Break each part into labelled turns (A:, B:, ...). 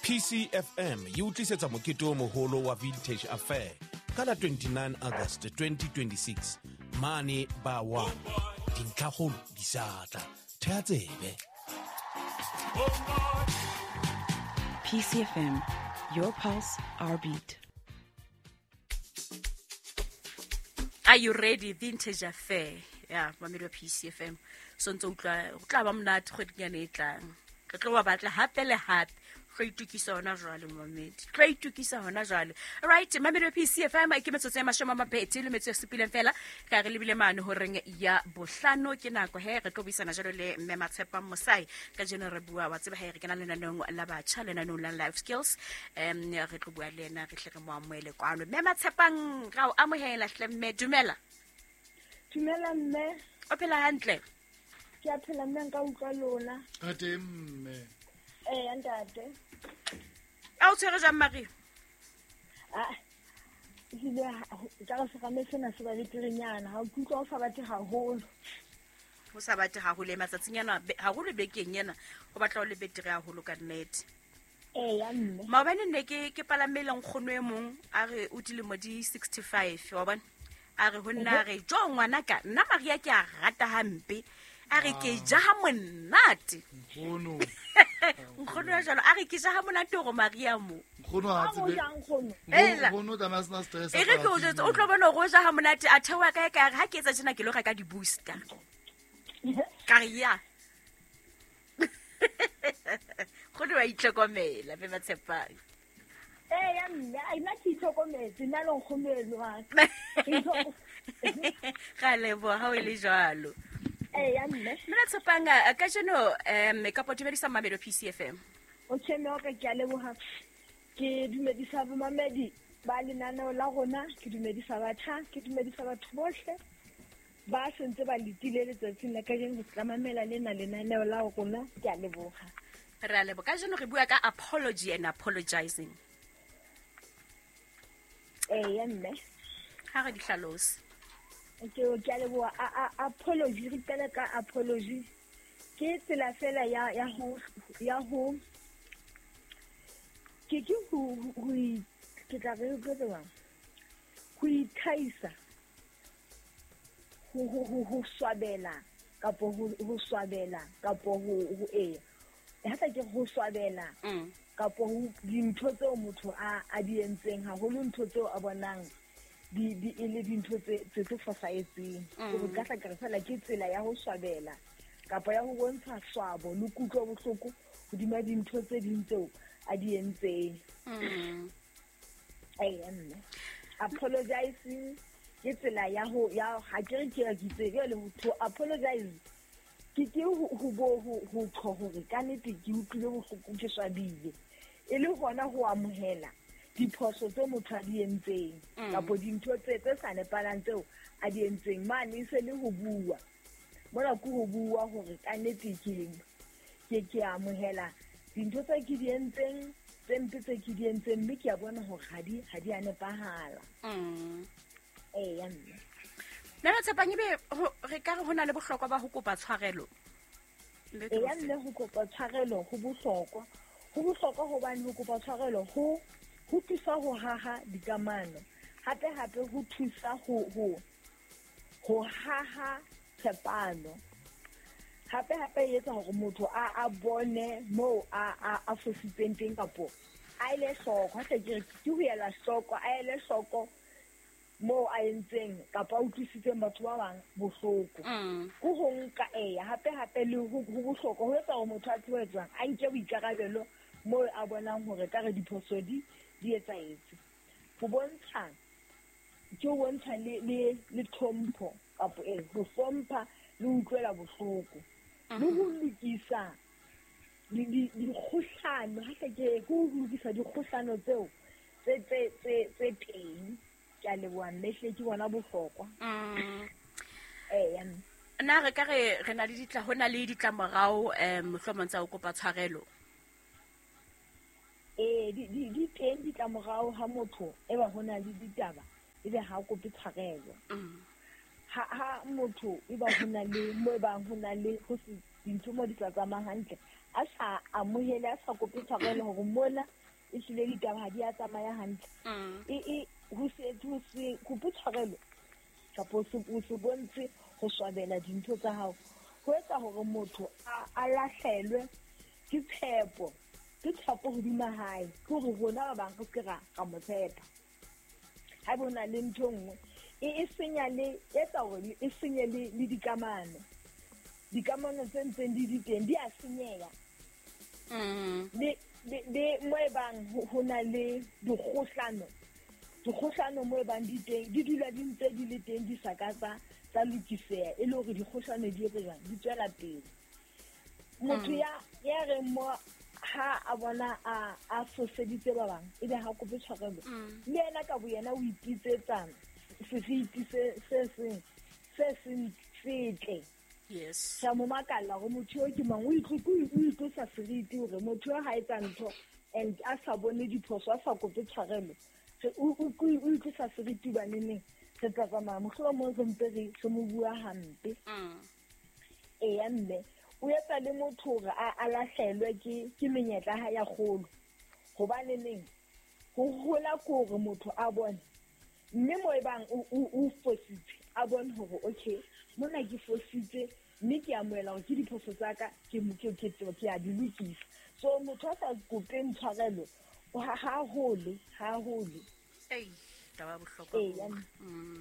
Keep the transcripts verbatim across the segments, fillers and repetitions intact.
A: P C F M e o tlisetsa mokete o moholo wa Vintage Affair ka la twenty-nine August twenty twenty-six mane ba one. Dintlhakgolo di sa tla. Theha tsebe.
B: P C F M, your pulse, our beat.
C: Are you ready? Vintage Affair. Yeah, mamedi wa P C F M. So ntse utlwa o tla ba monate kgweding e tlang. Re tlo ba batla hape le hape. Tlo itukisa hona jwale mamedi. Tlo itukisa hona jwale. Right, mamedi wa P C F M ke metsotso e mashome a mabedi le metso e supileng fela. Ka re lebile mane horeng ya bohlano ke nako he re tlo buisana jwalo le mme Matshepang Mosai. Ka jeno re bua wa tseba he re kena lenaneong la batjha, lenaneong la Life Skills. Em re tlo bua le yena re hle re mo amohele kwano. Mme Matshepang ra o amohela hle mme, dumela.
D: Dumela mme.
C: O phela hantle?
D: Ke a phela mme, nka utlwa lona.
E: Ka teng mme.
D: Eh, ntate.
C: A o tshwere jwang Maria?
D: Ah, ehlile ka re serame sena se ba beterenyana, ha o utlwa o sa batle haholo.
C: O sa batle haholo matsatsing ana, haholo bekeng ena, o batla o le betere haholo ka nnete.
D: Eh, ya mme.
C: Maobane nne ke ke palamele nkgono e mong a re o dilemo di sixty-five, wa bona? A re ho nna re jo ngwanaka, nna Maria ke a rata hampe. A re ke ja ha monate.
E: Nkgono.
C: Nkgono ya jalo a re ke ja ha monate hore Maria mo.
E: Nkgono ha tsebe. Nkgono tla sena stress.
C: E re ke o jwetse o tlo bona hore o ja ha monate a theoha kae kae ha ke etsa tjena ke lo reka di-booster. Ka re ya. Nkgono wa itlhokomela be Matshepang.
D: Eh ya mme, a nna ke itlhokometse nna le nkgono eno wa ka.
C: Ga leboha ha o le jwalo.
D: Eh ya mme.
C: Mme Matshepang ka jeno em ka dumedisa mamedi P C F M.
D: Okay mme, o ka ke a leboha. Ke dumedisa bomamedi ba lenaneo la rona, ke dumedisa batjha, ke dumedisa batho bohle ba sentse ba letile letsatsing la kajeno ho tla mamela lena lenaneo la rona. Ke a leboha.
C: Re a leboha. Ka jeno re bua ka apology and apologizing.
D: Eh ya mme.
C: Ha re di hlalose.
D: Ke ke a leboha. Apology, re qala ka apology. Ke tsela fela ya ya ho ya ho ke ke ho ho ke tla re go tswa ho ithaisa ho ho ho swabela kapo ho ho swabela kapo ho ho e ha tla ke ho swabela kapo ho dintho tseo motho a a di entseng haholo, ntho tseo a bonang di di e le dintho tse tse tse fosahetseng. Go ka tla ke fela ke tsela ya ho swabela kapa ya ho bontsha swabo le kutlwa bohloko hodima dintho tse ding tseo a di entseng. Eh mme apologizing ke tsela ya ho ya ha ke re ke ya kitse le to apologize ke ke ho bo ho ho tho hore ka nnete ke utlwile bohloko ke swabile e le hona ho amohela diphoso tse motho a di entseng kapa dintho tse tse sa nepalang tseo a di entseng. Mane e se le ho bua mona ke ho bua hore ka nnete ke ke ke amohela dintho tse ke di entseng tse mpe tse ke di entseng mme ke a bona hore ha di ha di a nepahala. Eh ya mme.
C: Nna Matshepang ebe re ka re hona le bohlokwa ba ho kopa tshwarelo.
D: Eh ya mme, ho kopa tshwarelo ho bohlokwa. Ho bohlokwa hobane ho kopa tshwarelo ho ho thusa ho haha dikamano. Hape hape ho thusa ho ho ho haha tshepano. Hape hape e etsa hore motho a a bone moo a a a fositseng teng kapo a ile hloko. Ha ke re ke ho ela hloko, a ele hloko moo a entseng kapa a utlwisitseng batho ba bang bohloko. Ke ho nka eya hape hape le ho bohloko ho etsa hore motho a tsebe jwang a nke boikarabelo moo a bonang hore ka re diphoso di di etsahetse. Ho bontsha ke ho bontsha le le le tlhompho kapo e ho hlompha le ho utlwela bohloko le ho lokisa di dikgohlano. Ha ke ke ho lokisa dikgohlano tseo tse tse tse tse teng. Ke a leboha mme, hle ke bona bohlokwa. Eh ya mme.
C: Nna re ka re re na le ditla hona le ditlamorao eh mohlomong tsa ho kopa tshwarelo.
D: Eh di di di teng ditlamorao ha motho e ba hona le ditaba ebe ha kope tshwarelo. Ha ha motho e ba hona le mo e bang hona le ho se dintho mo di sa tsamayang hantle a sa amohele a sa kope tshwarelo hore mona e hlile ditaba ha di a tsamaya hantle. E e ho se ho se kope tshwarelo kapa o se bontshe ho swabela dintho tsa hao, ho etsa hore motho a lahlelwe ke tshepo, ke tshepo hodima hae, ke hore rona ba bang re se ra ra mo tshepa. Ha bona le ntho nngwe e e senya le etsa hore e senye le le dikamano. Dikamano tse ntseng di di teng di a senyeha.
C: Mm.
D: Le le mo e bang ho na le dikgohlano, dikgohlano mo e bang di teng di dula di ntse di le teng di sa ka tsa tsa lokiseha, e le hore dikgohlano di etse jwang, di tswela pele. Motho ya ya reng mo ha a bona a a foseditse ba bang ebe ha kope tshwarelo, le yena ka boyena o ipitsetsa seriti se se seng se seng setle.
C: Yes.
D: Sa mo makalla hore motho eo ke mang, o itlosa seriti hore motho eo ha etsa ntho and a sa bone diphoso, a sa kope tshwarelo, o o itlosa seriti baneneng re tla tsamaya mohlomong re ntse re re mo bua hampe. Eya mme o etsa le motho hore a lahlelwe ke ke menyetla ha ya kgolo, hobane neng ho hola ke hore motho a bone mme mo e bang o fositse a bone hore okay mona ke fositse mme ke amohela hore ke diphoso tsa ka, ke ke ke a di lokisa. So motho a sa kopeng tshwarelo ha ha hole ha hole.
C: Ei, taba ya bohlokwa.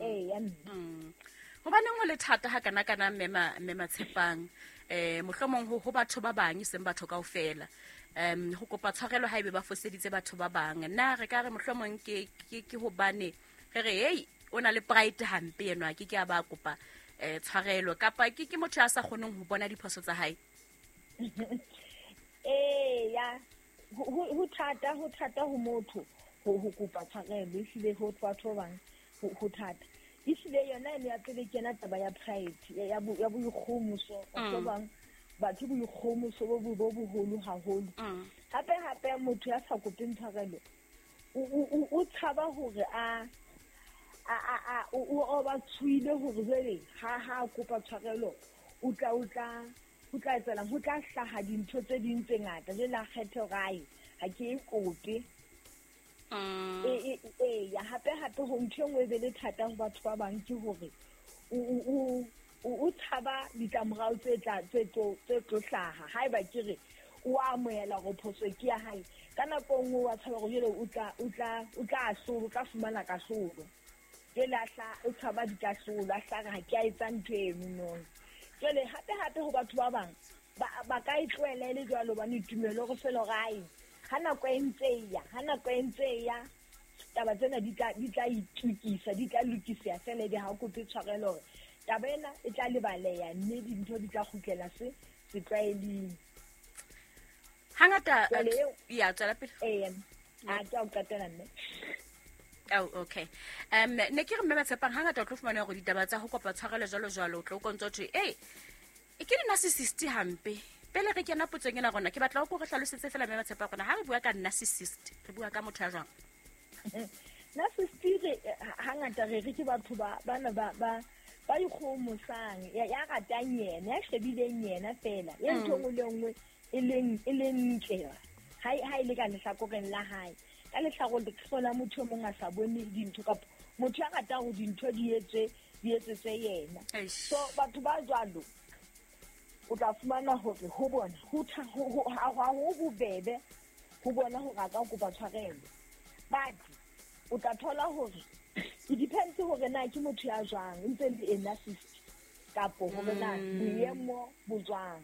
D: Ee,
C: mm. Hobaneng ho le thata ha kana kana mme mme Matshepang eh mohlomong ho ho batho ba bang e seng batho kaofela um ho kopa tshwarelo haebe ba foseditse batho ba bang, na re ka re mohlomong ke ke ke hobane re re hey o na le pride hampe enwa ke ke a ba kopa eh tshwarelo, kapa ke ke motho a sa kgoneng ho bona diphoso tsa hae?
D: Eh ya ho thata ho thata ho motho ho ho kopa tshwarelo, ehlile ho batho ba bang ho thata. Ehlile yona ene ya pele kena taba ya pride ya ya boikgomoso, batho ba bang batho boikgomoso bo bo boholo haholo. Hape hape motho ya sa kopeng tshwarelo o o tshaba hore a a a o ba tshuile hore jwale ha ha kopa tshwarelo o tla o tla o tla etsalang, ho tla hlaha dintho tse ding tse ngata jwale a kgethe hore ai ha ke e kope. E e ya hape hape ho ntho e nngwe e be le thata ho batho ba bang ke hore o o o tshaba ditlamorao tse tla tse tlo tse tlo hlaha haeba ke re o amohela hore phoso ke ya hae, ka nako nngwe wa tshaba hore jwale o tla o tla o tla ahlolwa, o tla fumana kahlolo. Jwale a hla o tshaba dikahlolo, a hla re ha ke a etsa ntho eno no. Jwale hape hape ho batho ba bang ba ka e tlohela e le jwalo hobane tumelo hore fela hore ai ha nako e ntse e ya, ha nako e ntse e ya taba tsena di tla di tla itukisa, di tla lokiseha fela ebe ha o kope tshwarelo hore taba ena e tla lebaleha mme dintho di tla kgutlela se setlwaeling.
C: Hangata ya tswela pele.
D: Ee, a ke a o qetela mme.
C: Oh, okay. Um ne ke re mme Matshepang hangata o tlo fumana hore ditaba tsa ho kopa tshwarelo jwalo jwalo o tlo kontso thwe ei e ke di-narcissist hampe. Pele re kena potsong ena rona ke batla ho re hlalosetse fela mme Matshepang rona ha re bua ka narcissist re bua ka motho ya jwang?
D: Narcissist hangata re re ke batho ba bana ba ba ba ikgomosang, ya ya ratang yena, ya shebileng yena fela, ya ntho nngwe le nngwe e leng e leng ntle ha ha ile ka lehlakoreng la hae. Ka lehlakoreng la motho mong a sa bone dintho kapa motho ya ratang hore dintho di etswe di etsetse yena. So batho ba jwalo o tla fumana hore ho bona ho ha ho bobebe ho bona hore a ka kopa tshwarelo, but o tla thola hore it depends hore na ke motho ya jwang, ntse le a narcissist kapo hore na boemo bo jwang.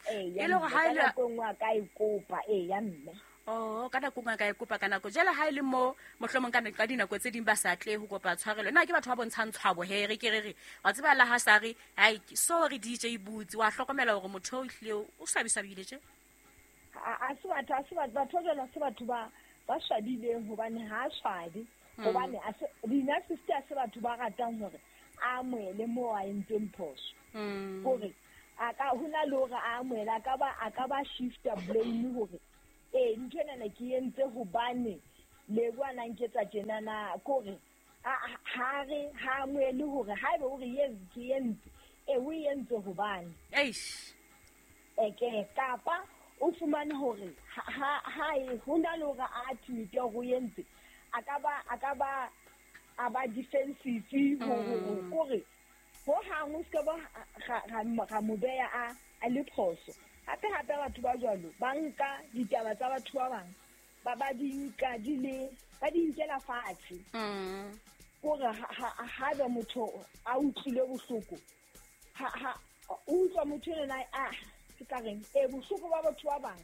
C: E le hore ha
D: e le nako nngwe a ka e kopa, ee ya mme.
C: Oh, ka nako nngwe a ka e kopa ka nako. Jwale ha e le mo mohlomong ka ka dinako tse ding ba sa tle ho kopa tshwarelo. Na ke batho ba bontshang tshwabo he re ke re re wa tseba la ha sa re ai sorry D J Boots, wa hlokomela hore motho o ihlile o swabisabile tje.
D: A se batho a se batho batho jwalo se batho ba ba swabileng hobane ha swabe, hobane a se di-narcissist a se batho ba ratang hore a amohele mo a entseng phoso. Hore a ka hona le hore a amohele a ka ba a ka ba shifta blame hore eh ntho ena ke entse hobane le bua nketsa tjena na kore ha re ha amohele hore haebe o re yes ke entse e o entse hobane.
C: Eish.
D: Eke kapa o fumane hore ha ha ho na le hore a admit hore o entse a ka ba a ka ba a ba defensive hore kore ho hang o ska ba ga mo beya a a le phoso. Hape hape batho ba jwalo ba nka ditaba tsa batho ba bang ba ba di nka di le ba di nkela fatshe.
C: Mm.
D: Kore ha ha ba motho a utlwile bohloko ha ha o utlwa motho ena a ke ka reng e bohloko ba batho ba bang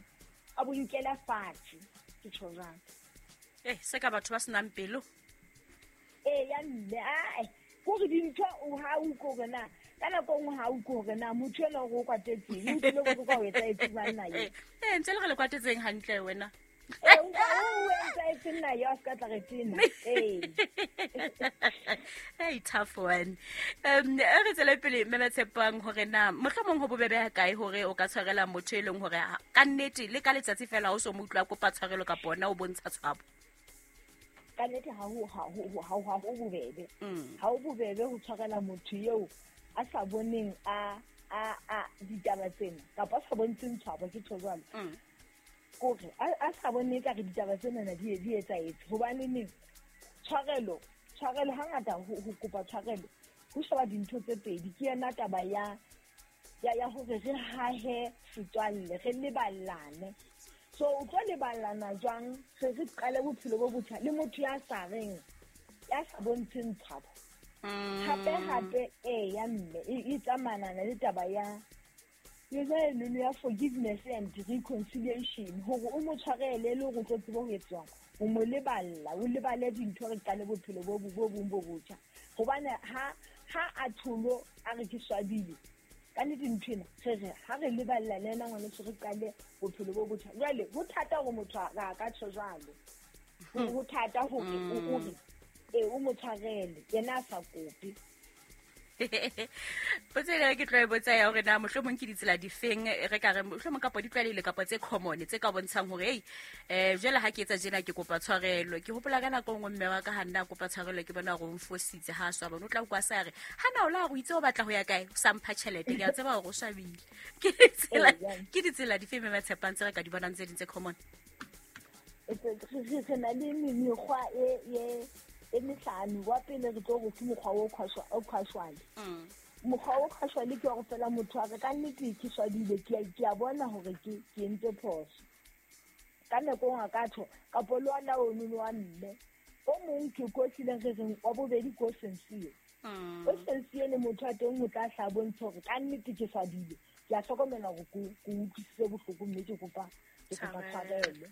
D: a bo nkela fatshe ke tjho jwang.
C: Eh se ka batho ba senang pelo.
D: Eh ya mme a kore dintho o ha o kore na ka nako nngwe ha o kore na motho ena o kwatetseng o tlile go kwa o etsa etse banna ye.
C: Eh ntse le re le kwatetseng hantle wena.
D: Eh o o etsa etse nna ya ska tla re tena. Eh.
C: Hey tough one. Um re tswele pele mme Tshepang hore na mohlomong ho bobebe ha kae hore o ka tshwarela motho e leng hore ka nnete le ka letsatsi fela o so mo utlwa kopa tshwarelo ka bona o bontsha tshwabo.
D: Ka nnete ha ho ha ho ha ho bobebe. Ha ho bobebe ho tshwarela motho eo a sa boneng a a a ditaba tsena kapa a sa bontsheng tshwabo ke tjho jwalo. Kore a sa bone ka re ditaba tsena na di di etsaetse hobane ne tshwarelo tshwarelo hangata ho kopa tshwarelo ho sheba dintho tse pedi ke yena taba ya ya ya hore re hahe setswalle re leballane. So o tlo leballana jwang re re qale bophelo bo botjha le motho ya sa reng ya sa bontsheng tshwabo. Hape hape eh ya mme e tsamanana le taba ya yona eno ya forgiveness and reconciliation hore o mo tshwarele le hore o tlo tsebe ho etswang o mo leballa o lebale dintho re qale bophelo bo bo bong bo botjha hobane ha ha a tholo a re ke swabile ka nnete ntho ena re re ha re leballa le ena ngwaneso re qale bophelo bo botjha. Jwale ho thata hore motho a ka tjho jwalo ho thata hore o re e o mo tshwarele yena a sa kope.
C: Potso ena ke tlo e botsa ya hore na mohlomong ke ditsela difeng re ka re mohlomong kapa di tlwaelehile kapa tse common tse ka bontshang hore ei eh jwale ha ke etsa tjena ke kopa tshwarelo. Ke hopola ka nako nngwe mme wa ka ha nna kopa tshwarelo ke bona hore o mfositse ha a swaba o tla kwa sa re ha na o la go itse o batla ho ya kae o sa mpha tjhelete ke a tseba hore o swabile. Ke ditsela ke ditsela difeng mme Tshepang tse re ka di bonang tse ding tse common?
D: Re na le mekgwa e e e mehlano wa pele re tlo go ke mokgwa o khwashwa o khwashwale. Mokgwa o khwashwale ke wa go fela motho a re ka nnete ke swabile ke ke a bona hore ke ke entse phoso. Ka nako nngwe ka tho kapo le ona o nono wa mme o mong ke ko tlileng re reng wa bobedi ko sincere. O sincere le motho a teng o tla hla bontsha hore ka nnete ke swabile ke a hlokomela hore ko ko utlwisitse bohloko mme ke kopa ke kopa tshwarelo.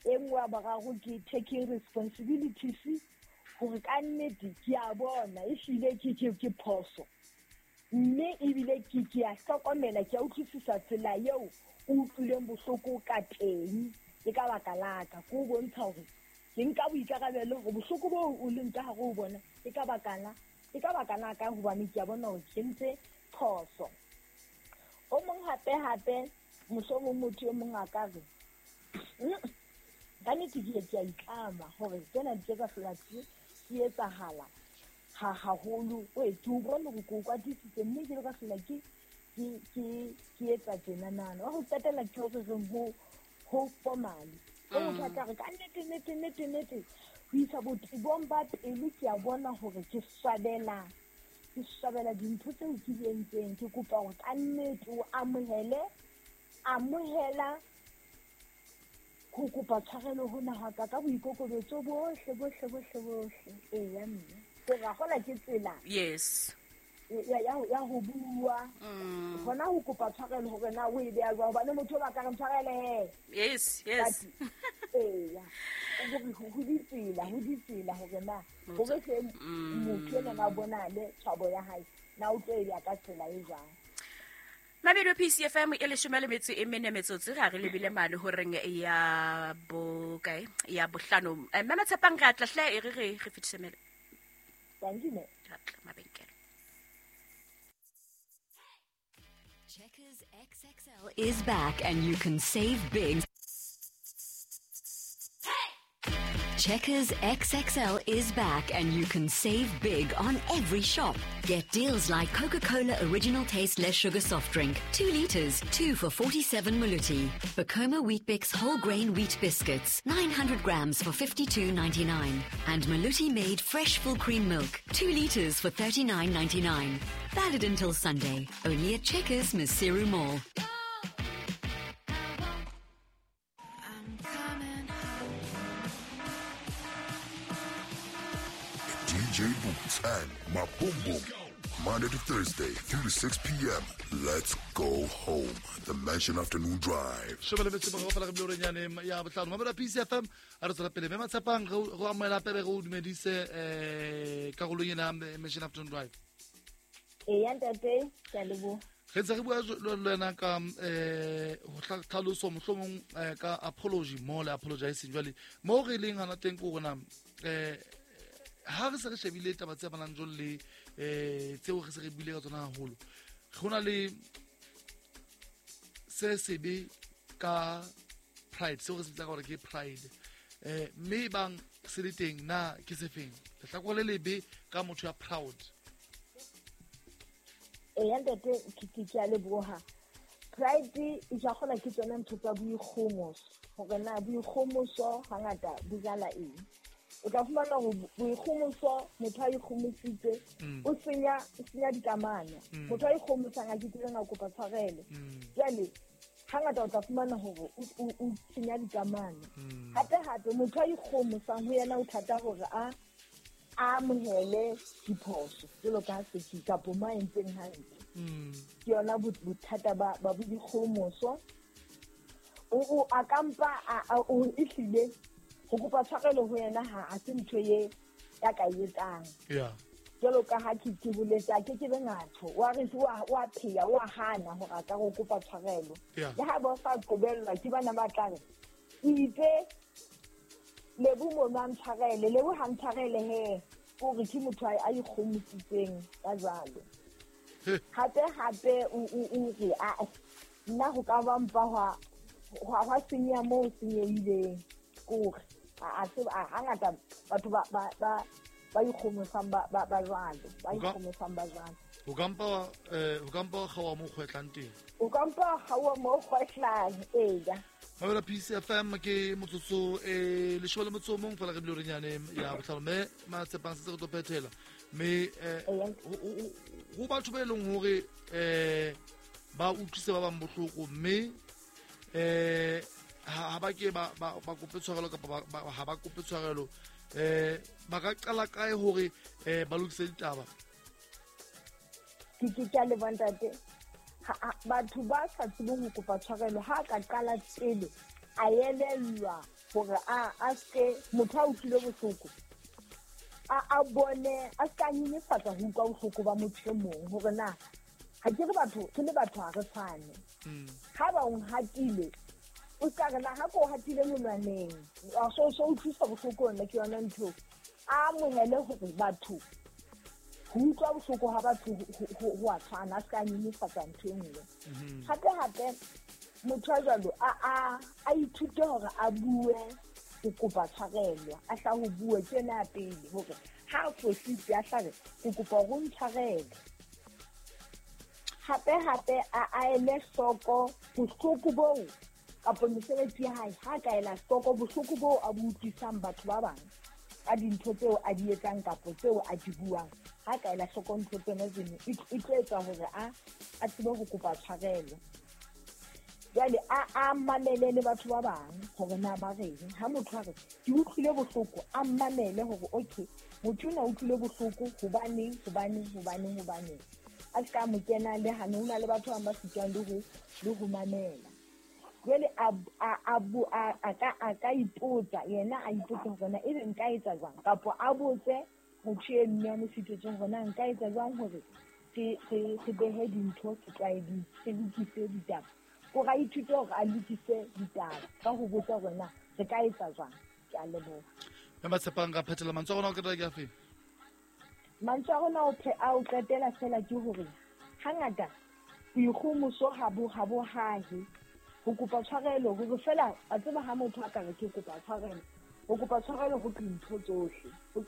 D: E nngwe ya boraro ke taking responsibilities hore ka nnete ke a bona ehlile ke ke ke phoso mme ebile ke ke a hlokomela ke a utlwisisa tsela eo o utlwileng bohloko ka teng ke ka baka la ka ko bontsha hore ke nka boikarabelo hore bohloko bo o leng ka hare ho bona ke ka baka la ke ka baka la ka hobane ke a bona hore ke entse phoso. O mong hape hape mohlomong motho e mong a ka re ka nnete ke ke a itlama hore tsena di ka hlola di etsahala ha haholo o e ke o bone hore ke o kwatisitse mme ke le ka hlola ke ke ke ke etsa tjena nana wa ho qetela ke hore reng ho ho formally o motho a tla re ka nnete nnete nnete nnete ho isa botebong ba pelo ke a bona hore ke swabela ke swabela dintho tseo ke di entseng ke kopa hore ka nnete o amohele amohela ho kopa tshwarelo hona ha ka ka boikokobetso bohle bohle bohle bohle. Eya mme ke ra gola ke tsela
C: yes
D: ya ya ya ho bua hona ho kopa tshwarelo hore na o e beya jwang hobane motho ba ka re tshwarele he
C: yes yes
D: eya ho ditsela ho ditsela hore na hore hle motho ena na bona le tshwabo ya hae na o tlo e ya ka tsela e jwang.
C: Mabelo P C F M e leshome le metso e mene metsotso re re lebile mane horeng ya bo kae ya bohlano. Mme Tshepang re atla hle e re re re fetise mele.
D: Thank you me.
C: Mabenkele.
B: Checkers X X L is back and you can save big.
F: Checkers X X L is back and you can save big on every shop. Get deals like Coca-Cola Original Taste Less Sugar Soft Drink, two litres, two for forty-seven Maluti. Bacoma Weet-Bix Whole Grain Wheat Biscuits, nine hundred grams for fifty-two ninety-nine. And Maluti Made Fresh Full Cream Milk, two litres for thirty-nine ninety-nine. Valid until Sunday, only at Checkers Maseru Mall.
G: D J Boots and Maboom Boom. Monday to Thursday, three to six P M. Let's go home. The Mansion Afternoon Drive.
E: P C F M Mansion Afternoon Drive. Re ntse re bua le wena ka eh ho tlhaloso mohlomong ka apology mo le apologizing jwale mo re leng hana teng ko rona eh ha re se re shebile taba tse amanang jwalo le eh tseo re se re buile ka tsona haholo go na le se sebe ka pride seo re se bitsang gore ke pride eh mme bang se le teng na ke se feng lehlakore le lebe ka motho ya proud.
D: E ntate ke ke a leboha. Pride e ja gona ke tsone ntho tsa boikgomoso hore na boikgomoso hangata bo jala eng. O tla fumana hore boikgomoso motho a ikgomositse o senya o senya dikamano. Motho a ikgomosang a ke kileng a kopa tshwarelo. Jwale hangata o tla fumana hore o senya dikamano. Hape hape motho a ikgomosang ho yena o thata hore a a amohele diphoso jwalo ka se kapo ma entseng hantle. Ke yona bothata ba ba boikgomoso. O o a kampa a o ehlile go kopa tshwarelo ho yena ha a se ntho ye ya ka etsang.
E: Yeah.
D: Jwalo ka ha ke ke boletse a ke ke be ngatho wa re wa wa pheya wa hana hore a ka go kopa tshwarelo. Le ha ba sa qobellwa ke bana ba tla re itse Lebo mo na ntshwarele Lebo ha ntshwarele he o re ke motho a ikgomositseng ka jwalo. Hape hape o o re a nna ho ka ba mpa hwa hwa senya mo senyehileng kore a se a hangata batho ba ba ba ba ikgomosang ba ba ba jwalo ba ikgomosang ba jwalo.
E: O kampa eh o kampa gawa mo kgwetlang teng.
D: O kampa gawa mo kgwetlang eya.
E: Mabela P C F M ke motsotso e leshome le motso o mong fela re bile re nyane ya botlhano mme Matshepang se re tlo phethela mme ho batho ba e leng hore eh ba utlwise ba bang bohloko mme eh ha ba ke ba ba kope tshwarelo kapa ha ba kope tshwarelo eh ba ka qala kae hore eh ba lokise ditaba.
D: Ke ke ke le bontate batho ba sa tsebeng ho kopa tshwarelo ha ka qala pele a elellwa hore a a se motho a utlwile bohloko a a bone a ska nyenyefatsa ho utlwa bohloko ba motho e mong hore na ha ke re batho ke le batho ha re tshwane. Ha ba o hatile o ska re na ha ko hatile monwaneng a so so utlwisa bohloko nna ke yona ntho a amohele hore batho ho utlwa bohloko ha batho ho a tshwana a ska nyenyefatsa ntho e nngwe. Hape hape motho a jwalo a a a ithute hore a bue ho kopa tshwarelo a hla ho bue ke yona ya pele hore ha a fositse a hlabe ke kopa hore o ntshwarele. Hape hape a a ele hloko bohloko boo kapo mesebetsi ya hae ha ka ela hloko bohloko boo a bo utlwisang batho ba bang ka dintho tseo a di etsang kapo tseo a di buang. Ha ka ela hloko ntho tsena tseno e tlo etsa hore a a tsebe ho kopa tshwarelo. Jwale a a mamele le batho ba bang hore na ba reng. Ha motho a re ke utlwile bohloko a mamele hore okay motho ona utlwile bohloko hobaneng hobaneng hobaneng hobaneng. A ska mo kena le hane ho na le batho ba bang ba sitwang le ho le ho mamela. Jwale a a a a ka a ka ipotsa yena a ipotsa hore na ebe nka etsa jwang kapo a botse motho e mme a mo sitetseng hore na nka etsa jwang hore ke ke ke behe dintho setlwaeding ke lokise ditaba. Ko ra ithute hore a lokise ditaba ka ho botsa hore na re ka etsa jwang. Ke a leboha.
E: Mme Matshepang ka phethela mantswe a rona o qetela ke afe?
D: Mantswe a rona a o qetela fela ke hore hangata boikgomoso ha bo ha bo hahe ho kopa tshwarelo hore fela a tseba ha motho a ka re ke kopa tshwarelo Ho kopa tshwarelo ho dintho tsohle. Ho